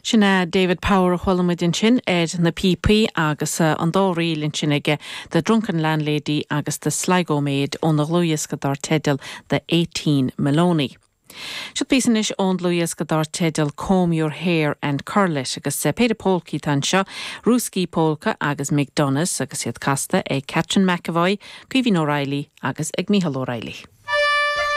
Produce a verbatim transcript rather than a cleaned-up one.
Sin é David Power a chuala muid ansin ar na píopaí agus uh, an dá ríl ansin aige The Drunken Landlady agus The Sligo Maid óna dhlúthdhiosca dar teideal The Eighteen Maloney. Seo píosa anois ón dlúthdhiosca dar teideal Comb Your Hair and Curl It agus uh, péire polcaí atá anseo, Rooskey Polka agus McDonis agus iad casta ag Catherine McAvoy, Caoimhín O'Reilly agus ag Michael O'Reilly.